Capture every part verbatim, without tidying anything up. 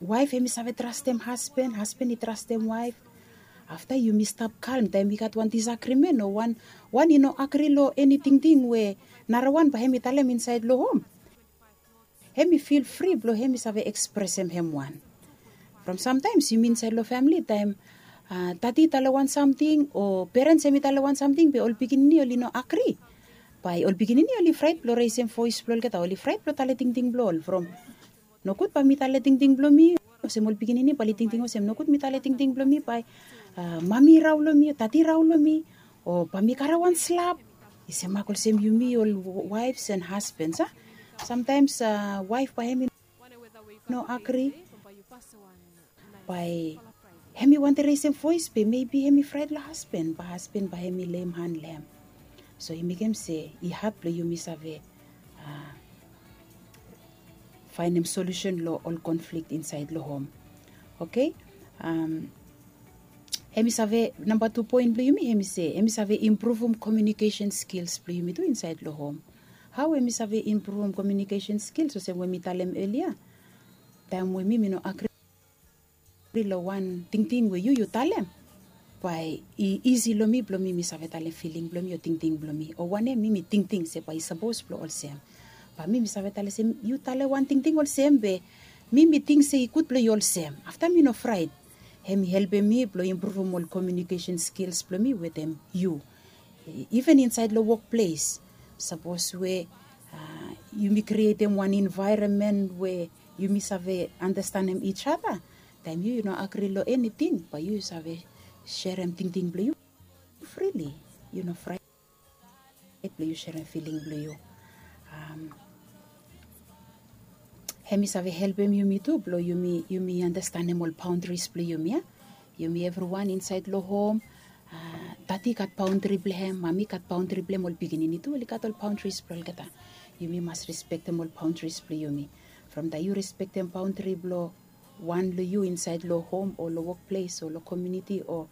Waef hemi save trastem hasben, hasben i trastem waef. Afta yumi stap kalm taem i gat wan disagrimen o wan wan i no agri long eni tingting we narawan bae hemi talem insaed long hom. Hemi fil fri blong hemi save ekspresem hem wan. From samtaems yumi insaed long famili taem tati i tale wan samting o perens hemi tale wan samting be ol pikinini oli no agri, bae ol pikinini oli fraet blong resem voes blong olgeta, oli fraet blong tale tingting blong ol from nogud bae mi tale tingting blong mi. Olsem ol pikinini bae oli tingting olsem nogud mi tale tingting blong mi bae mami i raon long mi o tati i raon long mi, o bae mi karem wan slap. I semak olsem yumi ol waefs and hasbens a, samtaems waef bae hemi no agri, bae hemi wantem resem voes be mebi hemi fraet long hasben bae hasben bae hemi leim han long hem. So i mekem se i had blong yumi save faenem solusen long ol konflik insaed long hom. Oke. Hemi save namba tu poen blong yumi hemi se hemi save impruvum komiunikesen skils blong yumi tu insaed long hom. Hao hemi save impruvum komiunikesen skils olsem we mi talem elia? Taem we mi mi no agri long wan tingting we yu yu talem, bae i isi long mi blong mi mi save talem filing blong mi o tingting blong mi o wanem mi mi tingting se bae i sapos blong olsem. Bae mi mi save talem se yu talem wan tingting olsem be mi mi ting se i gud blong yu olsem. Afta mi no fraet. Hemi helpem mi blong impruvum ol komiunikesen skils blong mi wetem yu. Iven insaed long wokples, sapos we yumi krietem wan envaeronmen we yumi save anastenem ij ada. Taem yu yu no agri long eniting bae yu yu save serem tingting blong yu frili. Yu no fraet blong yu serem filing blong yu. Hemi save helpem yumi tu blong yumi yumi anastenem ol baondris blong yumi a. Yumi evriwan insaed long hom, tati i gat baondri blong hem, mami i gat baondri blong hem, ol pikinini tu oli gat ol baondris blong olgeta. Yumi mas respektem ol baondris blong yumi. From taem yu respektem baondri blong wan long yu insaed long hom o long wokples o long komiuniti o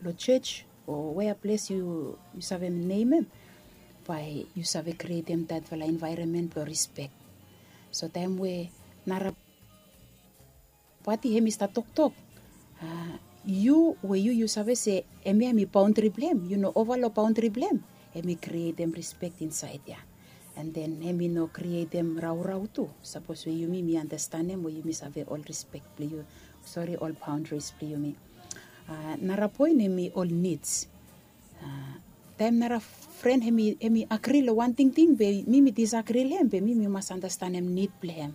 long jos o wea ples yu save nemem, bae yu save krietem datfala envaeronmen blong respek. So taem we nara pati hemi stap toktok, yu we yu yu save se hemia hemi baondri blong hem, yu no ova long baondri blong hem, hemi krietem respek insaed ya. An den hemi no krietem raorao tu sapos we yumi mi anastenem we yumi save ol respek blong yu, sori, ol baondris blong yumi. Nara poen hemi ol nids. Taem nara fren hemi agri long wan tingting be mi mi disagri long hem be mi mi mas anastenem nid blong hem.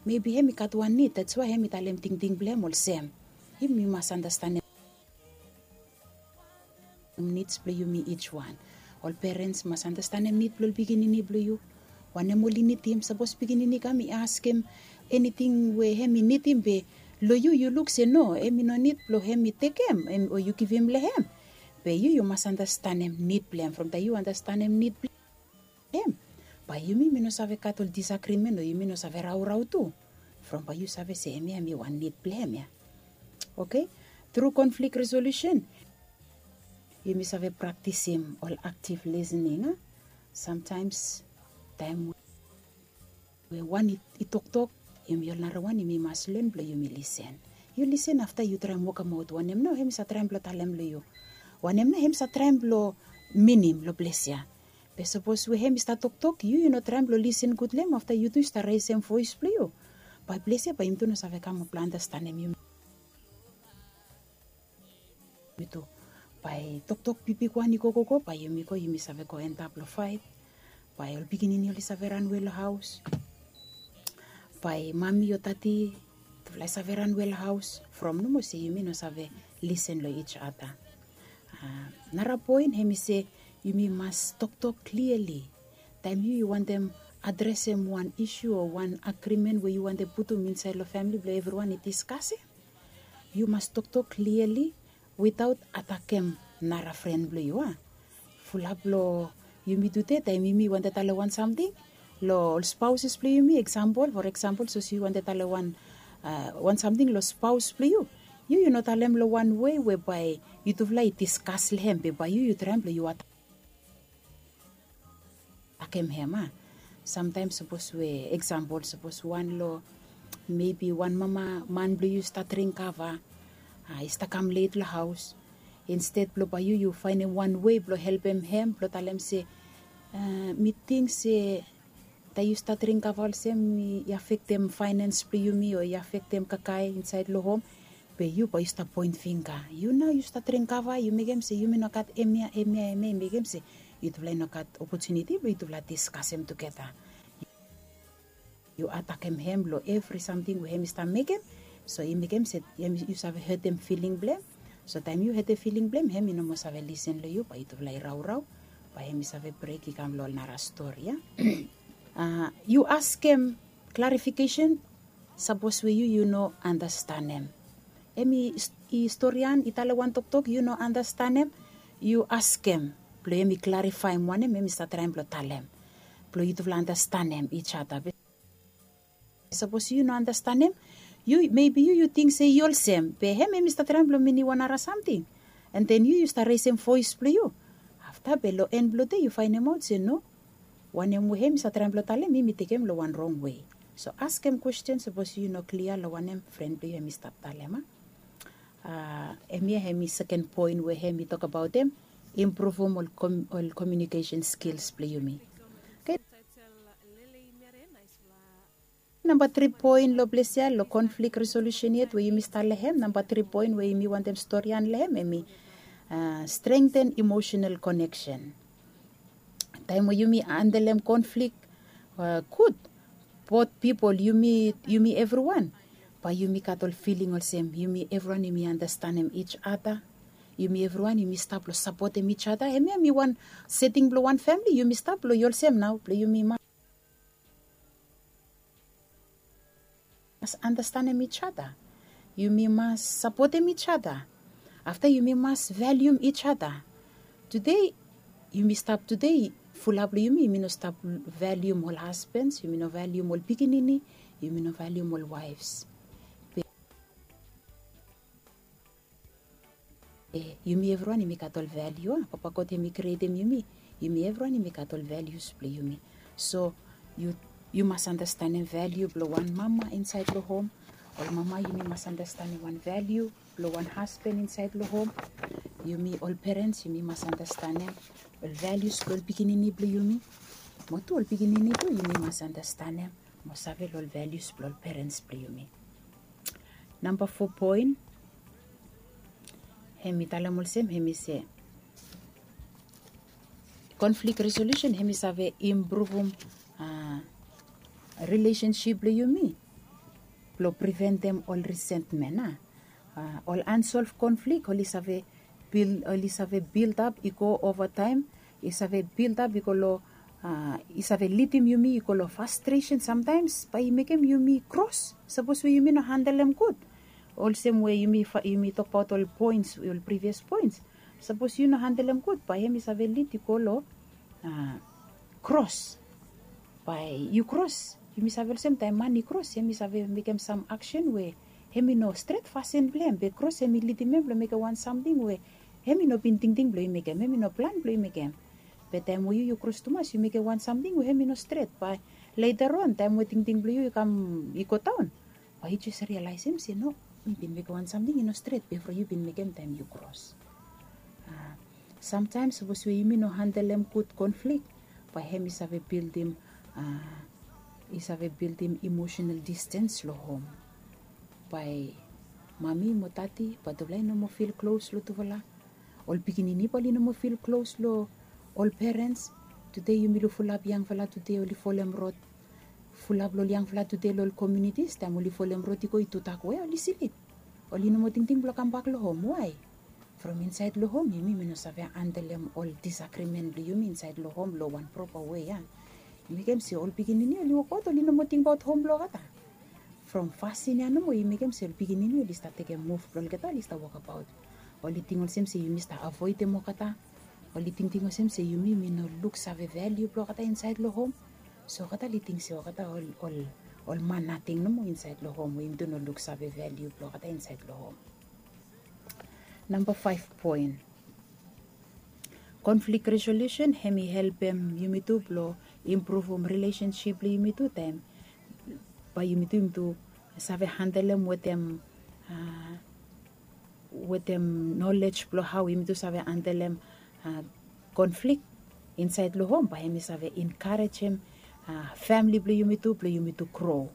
Mebi hemi gat wan nid, dats wae hemi talem tingting blong hem olsem. Yumi mas anastenem nids blong yumi ij wan. Ol perens mas anastenem nid blong ol pikinini blong yu. Wanem oli nidim, sapos pikinini i kam i askem eniting we hemi nidim be long yu yu luk se no, hemi no nid blong hemi tekem o yu givim long hem. Be yu yu mas anastenem nid blong hem. From taem yu anastenem nid blong hem, bae yumi mi no save gat ol disagrimen o yumi no save raorao tu. From bae yu save se hemia hemi wan nid blong hem ya. Oke. Tru konflik resolusen, yumi save praktisim ol aktiv lisening a. Samtaems taem we wan i toktok, yumi ol narawan yumi mas len blong yumi lisen. Yu lisen afta yu traem wokemaot wanem nao hemi save traem blong talem long yu. Wanem nao hemi save traem blong minim long ples ya. Be sapos we hemi stap toktok yu yu no traem blong lisen gud long hem, afta yu tu yu stap resem voes blong yu, bae ples ya bae yumi tu no save kamap blong anastenem yumi. Yumi tu, bae toktok bigbigwan i gogogo bae yumi go yumi save go endap long faet. Bae ol pikinini oli save ranwe long haos. Bae mami o tati tufala i save ranwe long haos from nomo se yumi no save lisen long ij ada. Nara poen hemi se yumi mas toktok kliali. Taem yu yu wantem adresem wan isu o wan agrimen we yu wantem putum insaed long famili blong evriwan i diskasem, yu mas toktok kliali witaot atakem nara fren blong yu a. Fulap long yumi tute taem yumi wantem talem wan samting long ol spaoses blong yumi, eksampol, for eksampol sapos yu wantem talem wan wan samting long spaos blong yu, yu yu no talem long wan wei we bae yutufala i diskas long hem be bae yu yu traem blong yu atakem hem a. Samtaem sapos we eksampol sapos wan long Mebi wan mama man blong yu i stap dring kava, i stap kam let long haos. Insted blong bae yu yu faenem wan wei blong helpem hem blong talem se, mi ting se taem yu stap dring kava olsem i afektem faenens blong yumi o i afektem kakae insaed long hom. Be yu bae yu stap poen fingga, yu nao yu stap dring kava yu mekem se yumi no gat hemia hemia hemia i mekem se yutufala i no gat opotuniti blong yutufala diskasem tugeta. Yu atakem hem long evri samting we hem i stap mekem. So i mekem se yu save hetem filing blong hem. So taem yu hetem filing blong hem hem i no moa save lisen long yu bae yutufala i raorao, bae hem i save brek i kam long ol nara stori ya. Yu askem klarifikesen sapos we yu yu no anastanem. Hem i storian i talem wan toktok yu no anastanem, yu askem blong hem i klarifaem wanem hem i stap traem blong talem, blong yutufala anastanem ijada. Sapos yu no anastanem, yu mebi yu yu ting se i olsem be hem hem i stap traem blong minim wan nara samting. An den yu yu stap resem voes blong yu. Afta be long en blong dei yu faenemaot se no, wanem we hem i stap traem blong talem mi mi tekem long wan rong wei. So askem kwesten sapos yu no klia long wanem fren blong yu hem i stap talem a. Hemia hem i seken poen we hem i tokbaotem impruvum ol komiunikesen skils blong yumi. Namba tri poen long ples ya long konflik resolusen yet we yumi stap long hem namba tri poen we yumi wantem storian long hem hem i strengten imosenal koneksen. Taem we yumi handelem konflik gud, bot pipol yumi yumi evriwan, bae yumi gat ol filing olsem yumi evriwan yumi anastanem ij ada. Yumi evriwan yumi stap long sapotem ij ada hemia hem i wan seting blong wan famili yumi stap long i olsem nao blong yumi mas mas anastanem ij ada. Yumi mas sapotem ij ada. Afta yumi mas valium ij ada. Tude yumi stap tude fulap long yumi yumi no stap valium ol hasbens yumi no valium ol pikinini, yumi no valium ol waefs. Yumi evriwan yumi gat ol valiu a papa god hem i krietem yumi. Yumi evriwan yumi gat ol valius blong yumi. So yu mas anastanem valiu blong wan mama insaed long hom. Ol mama yumi mas anastanem wan valiu blong wan hasben insaed long hom. Yumi ol perens yumi mas anastanem ol valius blong ol pikinini blong yumi. Mo tu ol pikinini tu yumi mas anastanem mo save long ol valius blong ol perens blong yumi. Namba fo poen hem i talem olsem hem i se konflik resolusen hem i save impruvum rilesensip blong yumi blong priventem ol risentmen a. Ol ansolv konflik oli save bil oli save bildap i go ovataem i save bildap i go long i save lidim yumi i go long fastresen samtaems bae i mekem yumi kros sapos we yumi no handelem gud. Olsem we yumi tokbaot ol poens ol privias poens, sapos yu no handelem gud bae hem i save lid i go long kros. Bae yu kros yumi save olsem taem man i kros hem i save mekem sam aksen we hem i no stret fasin blong hem be kros hem i lidim hem blong mekem wan samting we hem i no bin tingting blong i mekem hem i no plan blong i mekem. Be taem we yu yu kros tumas yu mekem wan samting we hem i no stret bae letaron taem we tingting blong yu i kam i godaon, bae yu jes rialaesem se no, mi bin mekem wan samting i no stret bifo yu bin mekem taem yu kros. Samtaems sapos we yumi no handelem gud konflik bae hem i save bildim i save bildim imosenal distens long hom. Bae mami mo dadi bae tufala i no moa fil klos long tufala. Ol pikinini bae oli no moa fil klos long ol perens. Tude yumi luk fulap yangfala tude oli folem rod fulap long ol yangfala tude long ol komiunitis taem oli folem rod i go i tudak we oli slip. Oli no moa tingting blong kambak long hom wae? From insaed long hom yumi mi no save handelem ol disagrimen blong yumi insaed long hom long wan propa wei a. I mekem se ol pikinini oli wokbaot oli no moa tingbaot hom blong olgeta. From fasin ya nomo i mekem se ol pikinini oli stap tekem muv blong olgeta oli stap wokabaot. Oli ting olsem se yumi stap avoedem olgeta. Oli tingting olsem se yumi mi no luksave valiu blong olgeta insaed long hom. So olgeta oli ting se olgeta ol ol ol man nating nomo insaed long hom we yumi tu no luksave valiu blong olgeta insaed long hom. Namba faef poen, konflik resolusen hem i helpem yumi tu blong impruvum rilesensip blong yumi tu taem bae yumi tu yumi tu save handelem wetem wetem nolej blong hao yumi tu save handelem konflik insaed long hom, bae hemi save enkarejem famili blong yumi tu blong yumi tu gro.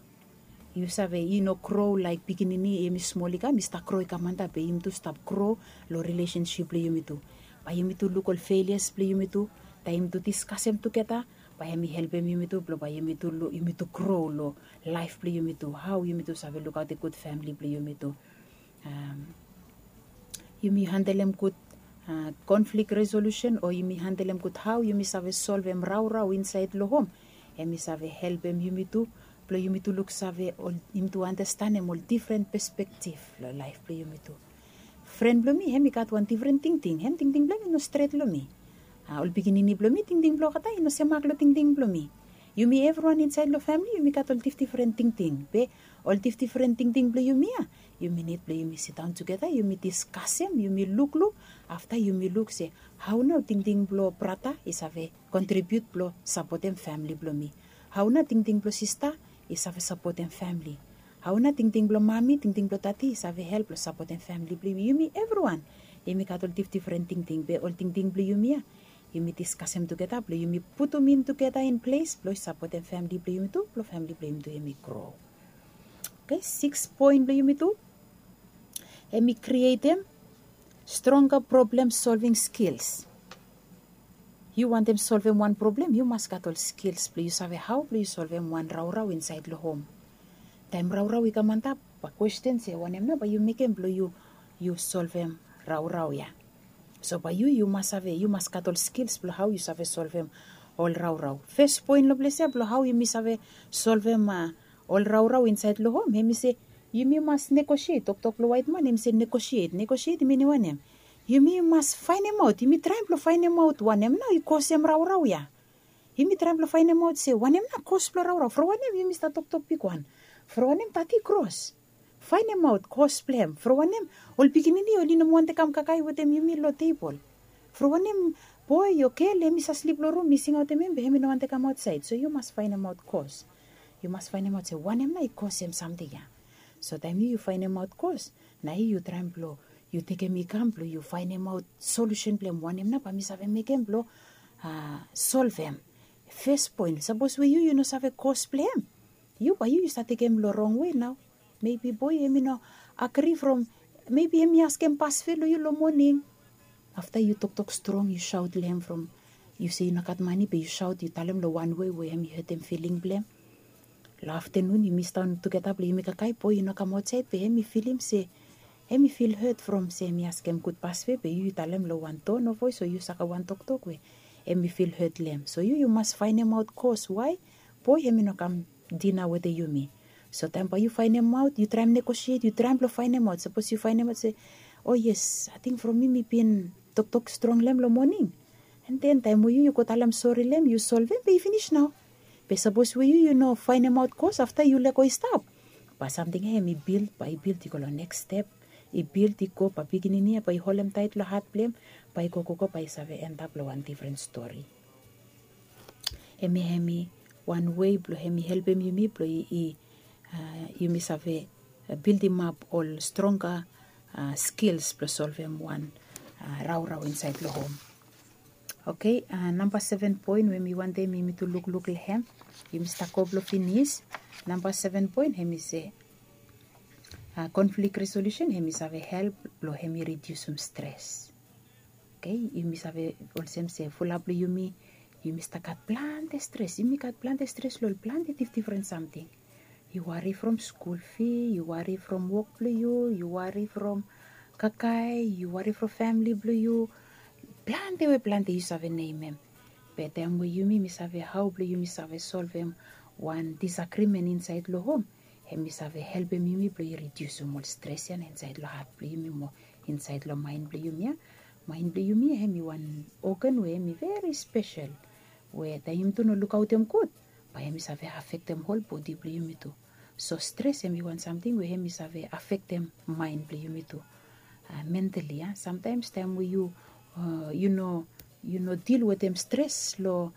Yu save i no gro laek pikinini, hemi smol i kam i stap gro i kam antap, be yumi tu stap gro long rilesensip blong yumi tu. Bae yumi tu luk ol felias blong yumi tu, taem yumi tu diskasem tugeta, bae hemi helpem yumi tu blong bae yumi tu gro long laef blong yumi tu, hao yumi tu save lukaotem gud famili blong yumi tu. Yumi handelem gud konflik resolusen o yumi handelem gud hao yumi save solvem raorao insaed long hom, hemi save helpem yumi tu blong yumi tu luksave, yumi tu anastenem ol difren pespektif long laef blong yumi tu. Fren blong mi hemi gat wan difren tingting, hem tingting blong hem i no stret long mi. Ol pikinini blong mi tingting blong olgeta i no semak long tingting blong mi. Yumi evriwan insaed long famili yumi gat ol difdifren tingting, be ol difdifren tingting blong yumi ya, yumi nid blong yumi sidaon tugeta, yumi diskasem, yumi lukluk, afta yumi luk se hao nao tingting blong brata i save kontribiut blong sapotem famili blong mi. Hao nao tingting blong sista i save sapotem famili. Hao nao tingting blong mami, tingting blong dadi i save help blong sapotem famili blong yumi. Yumi evriwan yumi gat ol difdifren tingting, be ol tingting blong yumi ya yumi diskasem tugeta blong yumi putum in tugeta in ples blong i sapotem famili blong yumi tu blong famili blong yumi tu hemi gro. Oke, sikis poen blong yumi tu, hemi krietem stronga problem solving skils. Yu wantem solvem wan problem yu mas gat ol skils blong yu save hao blong yu solvem wan raorao insaed long hom. Taem raorao i kam antap, bae kwesten se wanem nao bae yu mekem blong yu yu solvem raorao ya. So bae yu yu mas save, yu mas gat ol skils blong hao yu save solvem ol raorao. Fes poen long ples ya blong hao yumi save solvem ol raorao insaed long hom, hemi se yumi mas negosiet. Toktok blong waetman hemi se negosiet. Negosiet i minim wanem? Yumi mas faenemaot, yumi traem blong faenemaot wanem nao i kosem raorao ya. Yumi traem blong faenemaot se wanem nao kos blong raorao. From wanem yumi stap toktok bigwan? From wanem dadi i kros? Faenemaot kos blong hem. From wanem ol pikinini oli no moa wantem kam kakae wetem yumi long tebol? From wanem boe o gel hemi save slip long rum, mi singaotem hem be hemi no wantem kam aotsaed? So yu mas faenemaot kos. Yu mas faenemaot se wanem nao i kosem samting ya. So taem yu yu faenemaot kos, nao yu yu traem blong yu tekem i kam blong yu faenemaot solusen blong hem, wanem nao bae mi save mekem blong solvem. Fes poen, sapos we yu yu no save kos blong hem, yu bae yu yu stap tekem long rong wei nao. Mebi boe hemi no agri from, mebi hemi askem pasve long yu long moning. Afta yu toktok strong yu saot long hem from, yu se yu no gat mane be yu saot yu talem long wan wei we hemi hetem filing blong hem. Long aftenun yumi sidaon tugeta blong yumi kakae, boe i no kam aotsaed be hemi filim se hemi fil het from se hemi askem gud pasve be yu yu talem long wan tono voes o yu saga wan toktok we hemi fil het long hem. So yu yu mas faenemaot kos wae boe hemi no kam dina wetem yumi. So taem bae yu faenemaot, yu traem negosiet, yu traem blong faenemaot. Sapos yu faenemaot se, o yes, ating from mi mi bin toktok strong long hem long moning. An den taem we yu yu go talem sori long hem yu solvem be i finis nao. Be sapos we yu yu no faenemaot kos afta yu lego i stap, bae samting ya hemi bild, bae i bild i go long neks step, i bild i go, bae pikinini ya bae i holemtaet long hat blong hem, bae i gogogo bae i save endap long wan difren stori. Hemia hemi wan wei blong hemi helpem yumi blong i yumi save bildimap ol stronga skils blong solvem wan raorao insaed long hom. Oke, namba seven poen we mi wantem yumi tu lukluk long hem. Yumi stap go blong finis. Namba seven poen hemi se konflik resolusen hemi save help blong hemi ridiusum stres. Oke, yumi save olsem se fulap blong yumi, yumi stap gat plante stres. Yumi gat plante stres long ol plante difdifren samting. Yu wari from skul fi, yu wari from wok blong yu, yu wari from kakae, yu wari from famili blong yu. Plante we plante yu save nemem. Be taem we yumi mi save hao blong yumi save solvem wan disagrimen insaed long hom, hemi save helpem yumi blong i ridiusum ol stres ya na insaed long hat blong yumi mo insaed long maen blong yumi ya. Maen blong yumi ya hemi wan ogan we hemi veri spesel, we taem yumi tu no lukaotem gud, bae hemi save afektem hol bodi blong yumi tu. So stres hemi wan samting we hemi save afektem maen blong yumi tu. Mentali ya, samtaems taem we yu yu no yu no dil wetem stres long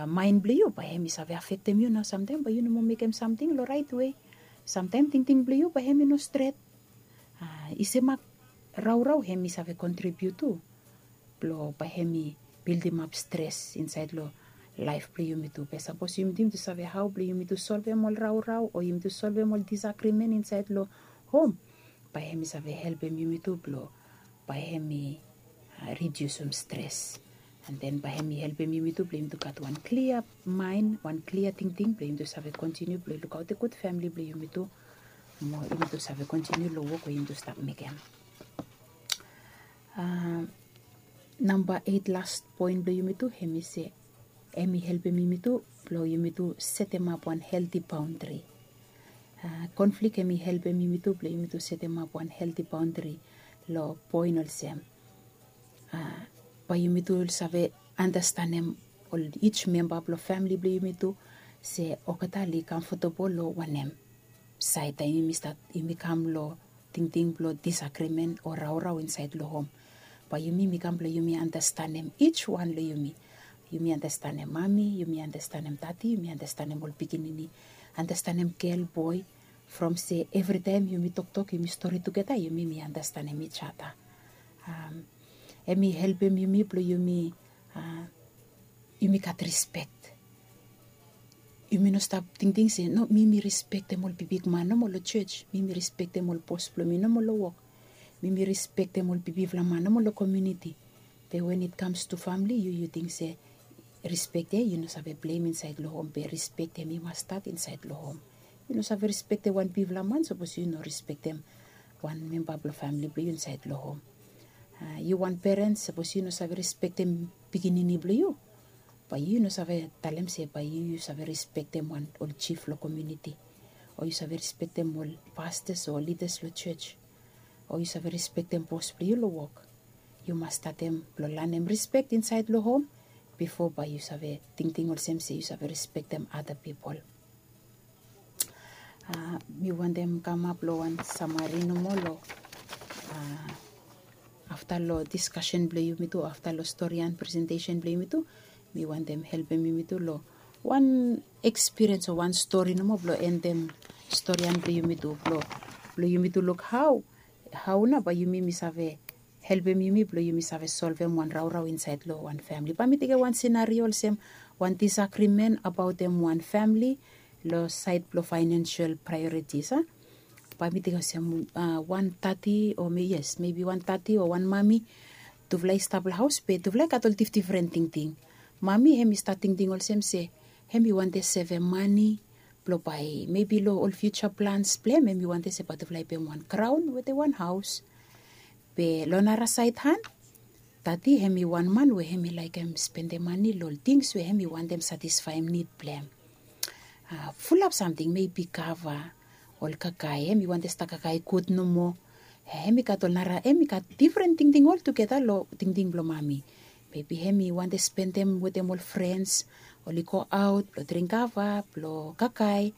maen blong yu, bae hemi save afektem yu nao. Samtaem bae yu no moa mekem samting long raet wei. Samtaem tingting blong yu bae hem i no stret. I semak raurau hem i save kontribiut tu blong bae hem i bildimap stres insaed long laef blong yumi tu. Be sapos yumi tu save hao blong yumi tu solvem ol raurau o yumi tu solvem ol disagrimen insaed long hom, bae hem i save helpem yumi tu blong bae hem i ridiusum stres. An den bae hem i helpem yumi tu blong yumi tu gat wan klia maen, wan klia tingting blong yumi tu save kontiniu blong lukaotem gud famili blong yumi tu, mo yumi tu save kontiniu long wok we yumi tu stap mekem. Namba eit, las poen blong yumi tu hem i se hem i helpem yumi tu blong yumi tu setemap wan helti baondri. Konflik hem i helpem yumi tu blong yumi tu setemap wan helti baondri long poen olsem, bae yumi tu save andastanem ol ij memba blong famili blong yumi tu se olgeta oli kamfotebol long wanem saed taem yumi stat, yumi kam long tingting blong disagrimen o raurau insaed long hom. Bae yumi mi kam blong yumi andastanem ij wan long yumi. Yumi andastanem mami, yumi andastanem tati, yumi andastanem ol pikinini, andastanem gel, boe, from se evritaem yumi toktok, yumi stori tugeta, yumi mi andastanem ij ada. Hem i helpem yumi blong yumi yumi gat rispek. Yumi no stap tingting se no, mi mi rispektem ol bigbigman nomo long jos, mi mi rispektem ol bos blong mi nomo long wok, mi mi rispektem ol bigfala man nomo long komuniti. Be wen it kams tu famili, yu yu ting se rispek ya yu no save blem insaed long hom, be rispek hem i mas stat insaed long hom. Yu no save rispektem wan bigfala man sapos yu no rispektem wan memba blong famili blong yu insaed long hom. Yu wan peren, sapos yu no save rispektem pikinini blong yu, bae yu no save talem se bae yu yu save rispektem wan ol jif long komuniti, o yu save rispektem ol pastas o lidas long jos, o yu save rispektem bos blong yu long wok. Yu mas statem blong lanem rispek insaed long hom bifo bae yu save tingting olsem se yu save rispektem ada pipol. Mi wantem kamap long wan samari nomo long afta long diskasen blong yumi tu, afta long storian presentesen blong yumi tu, mi wantem helpem yumi tu long wan ekspiriens o wan stori nomo blong endem storian blong yumi tu, blong yumi tu luk hao hao nao bae yumi mi save helpem yumi blong yumi save solvem wan raurau insaed long wan famili. Bae mi tekem wan senario olsem wan disagrimen abaotem wan famili long saed blong faenensel praeoritis a. Bae mi tekem olsem wan tati o yes, mebi wan tati o wan mami, tufala i stap long haos be tufala i gat ol difdifren tingting. Mami hem i stat tingting olsem se hem i wantem sevem mani blong bae mebi long ol fiuja plans blong hem hem i wantem se bae tufala i pem wan graon wetem wan haos. Be long nara saed han, tati hem i wan man we hem i laekem spendem mani long ol tings we hem i wantem satisfaem nid blong hem. Fulap samting, mebi kava, ol kakae, hem i wantem stap kakae gud nomo. Hem i gat ol nara, hem i gat difren tingting oltugeta long tingting blong mami. Mebi hem i wantem spendem wetem ol frens, oli goaot blong dring kava, blong kakae,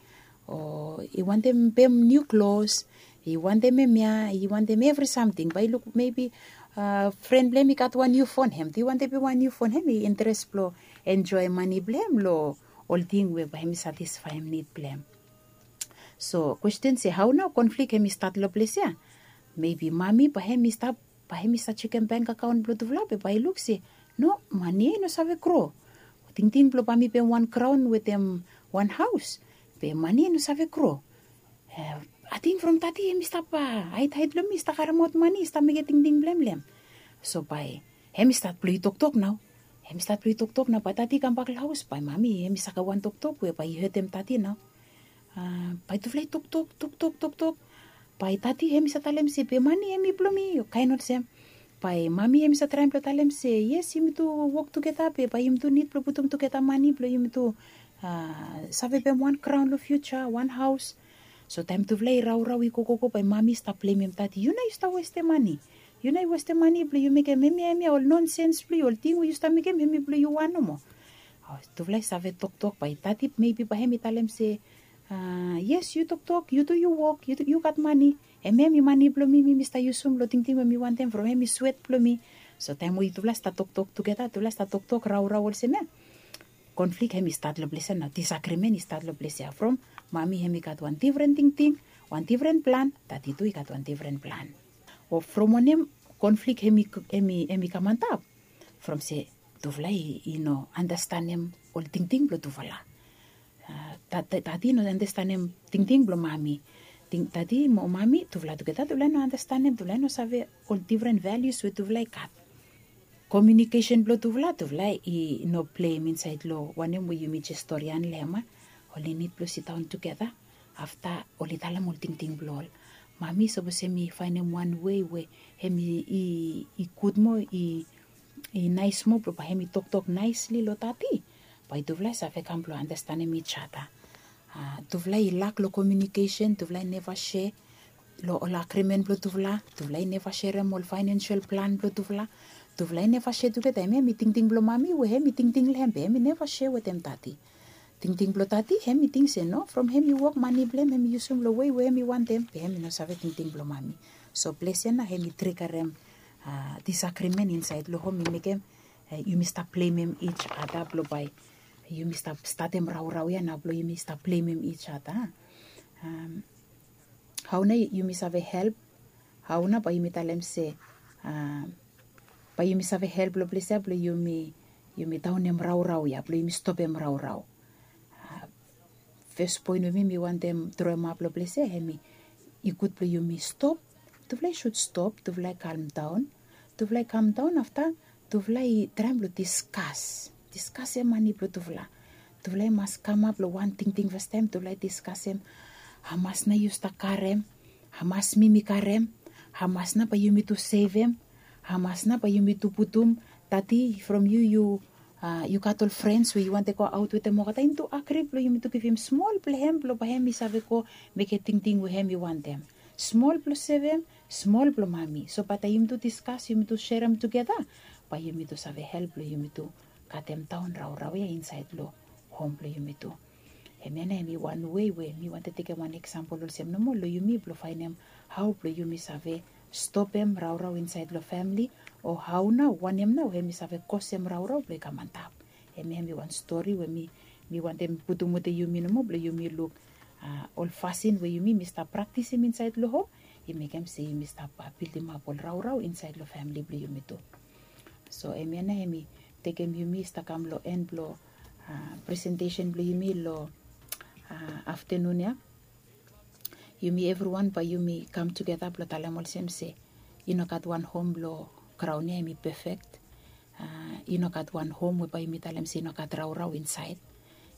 o i wantem pem niu klos, i wantem hemia, i wantem evri samting. Bae i luk mebi fren blong hem i gat wan niu fon, hem tu i wantem pem wan niu fon, hem i interes blong enjoem mani blong hem long ol ting we bae hem i satisfaem nid blong hem. So kwesten se hao nao konflik hem i stat long ples ya? Mebi mami bae hem i stap, bae hem i save jekem bank akaon blong tufala be bae i luk se no, mani ya i no save gro. Tingting blong bae mi pem wan graon wetem wan haos, be mani ya i no save gro. Ating from tati hem i stap haedhaed long mi, i stap karemaot mani, i stap mekem tingting blong hem long hem. So bae hem i stat blong i toktok nao. Hem i stat blong i toktok nao, bae tati i kambak long haos, bae mami hem i sakem wan toktok we bae i hetem tati nao. Bae tufala i toktok toktok toktok. Bae tati hem i save talem se be mani hem i blong mi, o kaen olsem. Bae mami hem i save traem blong talem se yes, yumi tu wok tugeta be bae yumi tu nid blong putum tugeta mani blong yumi tu save pem wan graon long fiuja, wan haos. So taem tufala i raorao i gogogo, bae mami i stap blemem tati, yu nao yu stap westem mani. Yu nao yu westem mani blong yu mekem hemia hemia, ol nonsens blong yu, ol ting we yu stap mekem hemi blong yu wan nomo. Tufala i save toktok, bae tati mebi bae hem i talem se yes, yu toktok, yu tu yu wok, yu gat mani. Hemia hemi mani blong mi, mi mi stap yusum long tingting we mi wantem from hemi swet blong mi. So taem we yutufala i stap toktok tugeta, tufala i stap toktok raorao olsem ya, konflik hem i stat long ples ya nao, disagrimen i stat long ples ya from Mami hem i gat wan difren tingting, wan difren plan, tati tu i gat wan difren plan. O from wanem konflik hem i hem i hem i kam antap? From se tufala i no andastanem ol tingting blong tufala. Tati no andastanem tingting blong mami. Tati mo mami tufala tugeta tufala i no andastanem, tufala i no save ol difren valius we tufala i gat. Komiunikesen blong tufala tufala i no pleim insaed long wanem we yumi jes storian long hem. Oli nid blong sidaon tugeta afta oli talem ol tingting blong ol. Mami sapos hem i faenem wan wei we hem i gud moa, i naes moa blong bae hem i toktok naesli long tati, bae tufala i save kam blong andastanem ij ada. Tufala i lak long komiunikesen, tufala i neva sea long ol agrimen blong tufala. Tufala i neva serem ol faenensel plan blong tufala. Tufala i neva sea tugeta, hem hem i tingting blong mami we hem i tingting long hem be hem i neva sea wetem tati. Tingting blong tati hem i ting se no, from hem i wok mane blong hem hem i yusum long wei we hem i wantem, be hem i no save tingting blong mami. So ples ya nao hem i trigarem disagrimen insaed long hom, i mekem yumi stap plemem ij ada blong bae yumi stap statem raorao ya nao blong yumi stap plemem ij ada. Hao nao yumi save help? Hao nao bae yumi talem se bae yumi save help long ples ya blong yumi yumi daonem raorao ya, blong yumi stopem raorao? Fes poen we mi mi wantem droemap long ples ya hem i gud blong yumi stop. Tufala i sud stop, tufala i kamdaon. Tufala i kamdaon afta tufala i traem blong diskas, diskasem mane blong tufala. Tufala i mas kamap long wan tingting fastaem, tufala i diskasem hamas nao yu stap karem, hamas mi mi karem, hamas nao bae yumi tu sevem, hamas nao bae yumi tu putum. Tati from yu yu yu gat ol frens we yu wantem go aot wetem olgeta, yumi tu agri blong yumi tu givim smol blong hem blong bae hem i save go mekem tingting we hem i wantem. Smol blong sevem, smol blong mami. So bae taem yumi tu diskas, yumi tu serem tugeta, bae yumi tu save help blong yumi tu katemdaon raorao ya insaed long hom blong yumi tu. Hemia nao hem i wan wei we mi wantem tekem wan eksampol olsem nomo long yumi blong faenem hao blong yumi save stopem raorao insaed long famle, o hao nao wanem nao hem i save kosem raorao blong i kam antap. Hemia hem i wan stori we mi mi wantem putum wetem yumi nomo blong yumi luk ol fasin we yumi mi stap praktisim insaed long hom i mekem se yumi stap bildimap ol raorao insaed long famle blong yumi tu. So hemia nao hem i tekem yumi stap kam long en blong presentesen blong yumi long aftanun ya. Yumi evriwan bae yumi kam tugeta blong talem olsem se i no gat wan hom long graon ya hem i pefek. I no gat wan hom we bae yumi talem se i no gat raorao insaed.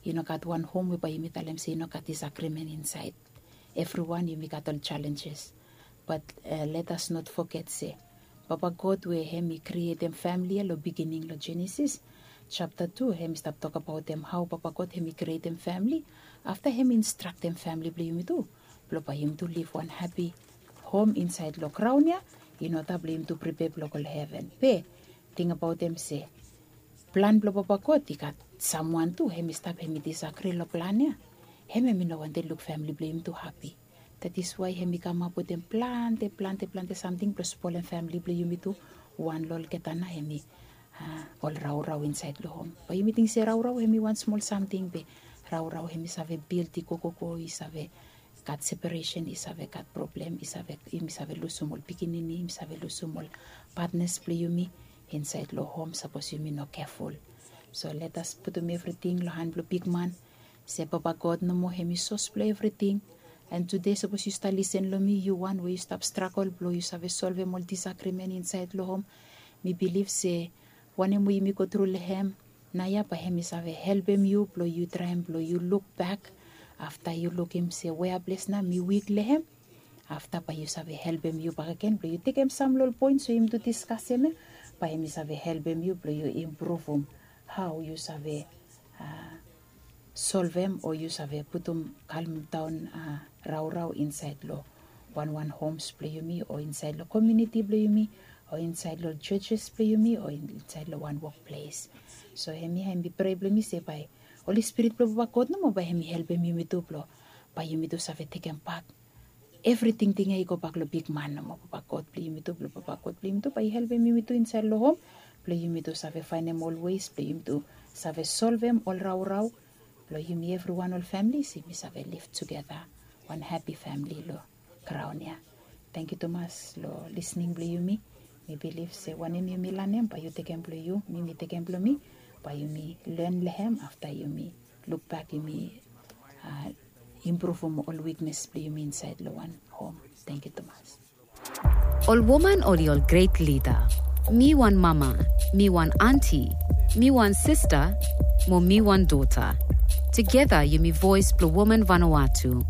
I no gat wan hom we bae yumi talem se i no gat disagrimen insaed. Evriwan yumi gat ol jalenjes. Bat let as not foget se Papa God we hem i krietem famle ya long bigining long Jenesis japta tu, hem i stap tokbaotem hao Papa God hem i krietem famle. Afta hem i instraktem famle blong yumi tu blong bae yumi tu liv wan hapi hom insaed long graon ya, in oda blong yumi tu pripea blong go long heven. Be tingbaotem se plan blong Papa God i gat samwan tu hem i stap hem i disagri long plan ya. Hem hem i no wantem luk famle blong yumi tu hapi. That is why hem i kamap wetem plante plante plante samting blong spolem famle blong yumi tu. Wan long olgeta nao hem i ol raorao insaed long hom. Bae yumi ting se raorao hem i wan smol samting, be raorao hem i save bildi gogogo, i save gat separesen, i save gat problem, i save yumi save lusum ol pikinini, yumi save lusum ol patnas blong yumi insaed long hom sapos yumi no keful. So let as putum evriting long han blong bigman. Se Papa God nomo hem i sos blong evriting. An tude sapos yu stap lisen long mi, yu wan we yu stap stragol blong yu save solvem ol disagrimen insaed long hom, mi bilif se wanem we yumi go tru long hem naoia bae hem i save helpem yu blong yu traem blong yu lukbak afta yu lukim se wea ples nao mi wik long hem. Afta bae yu save helpem yu bakegen blong yu tekem sam long ol poens we yumi tu diskasem ya, bae hem i save helpem yu blong yu impruvum hao yu save solvem o yu save putum kalmdaon raorao insaed long wanwan homs blong yumi o insaed long komuniti blong yumi o insaed long ol jojes blong yumi o insaed long wan wokples. So hemia hem i prea blong mi se bae Holi Spirit blong Papa God nomo bae hem i helpem yumi tu blong bae yumi tu save tekembak evri tingting ya i gobak long bigman nomo, Papa God blong yumi tu, blong Papa God blong yumi tu bae i helpem yumi tu insaed long hom blong yumi tu save faenem ol ways blong yumi tu save solvem ol raorao Blong yumi evriwan ol famili se yumi save liv tugeta wan hapi famili long graon ya. Tangkiu tumas long lisning blong yumi. Mi bilif se wanem yumi lanem bae yu tekem blong yu, mi mi tekem blong mi, bae yumi len long hem afta yumi lukbak yumi impruvum ol wiknes blong yumi insaed long wan hom. Tangkiu tumas. Ol woman oli ol gret lida. Mi wan mama, mi wan anti, mi wan sista, mo mi wan dota. Tugeta yumi voes blong woman Vanuatu.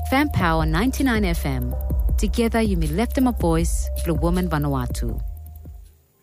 Fem Paoa ninety nine F M. Tugeta yumi leftemap voes blong woman Vanuatu.